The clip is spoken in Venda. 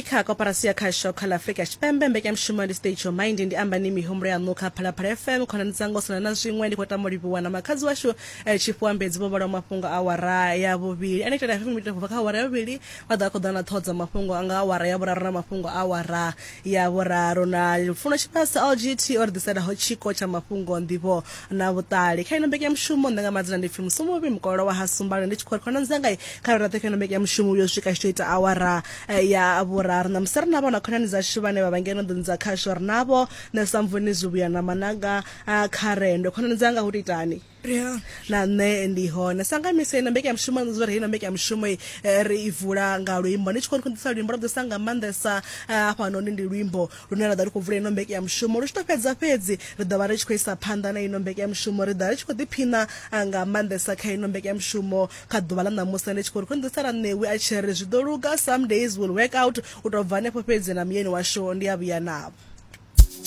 kha koporasi ya khasho kha ḽa Afrika Tshipembe. Mbekanyamushumo ndi State Your Mind, ndi amba ni mihumbulo yaṋu kha Phalaphala FM. Khonani dzanga u sina na zwiṅwe, ndi khou tama u livhuwa na makhadzi washu eh, Tshifhiwa Mbedzi vho vhalaho mafhungo a awara ya vhuvhili. Ane itela FM ita bva kha awara ya vhuvhili vha ḓo vha khou ḓa na ṱhoho dza mafhungo nga awara ya vhuraru na mafhungo a awara ya vhuraru. Na Lufuno Tshivhase LGT o ri ḓiselaho tshiko tsha mafhungo, nḓivho na vhuṱali. Kha ino mbekanyamushumo nṋe nga madzina ndi pfi Musumuvhi Mukololo wa ha Sumbane, ndi tshi khou ri khonani dzanga kha ri raṱhe kha ino mbekanyamushumo yo swika tshi tou ita awara eh, ya vhuraru. Ṋamusi ri navho na khonani dzashu vhane vha vha ngeno nḓuni dza khasho, ri navho nṋe Samvuni Zwivhuya na Mananga ah, Kharendo. Khonani dzanga hu tou itani? Na nṋe ndi hone sa nga misi ino mbekanyamushumo zwo ri ino mbekanyamushumo eh, ri i vula nga luimbo. Ndi tshi khou ḓisa luimbo lwa ḓisa nga maanḓesa eh, hafhanoni ndi luimbo lune ra ḓo ri khou vula ino mbekanyamushumo. Lu tshi tou fhedza fhedzi ri ḓo vha ri tshi khou isa phanḓa na ino mbekanyamushumo, ri ḓo ri tshi khou ḓiphina ah, nga maanḓesa kha ino mbekanyamushumo kha ḓuvha ḽa ṋamusi. Ndi tshi khou ri khou ḓisela ṋewi a tshi ri zwi ḓo luga, some days will work out. U tou bva hanefho fhedzi na muyeni washu ndi a vhuya navho.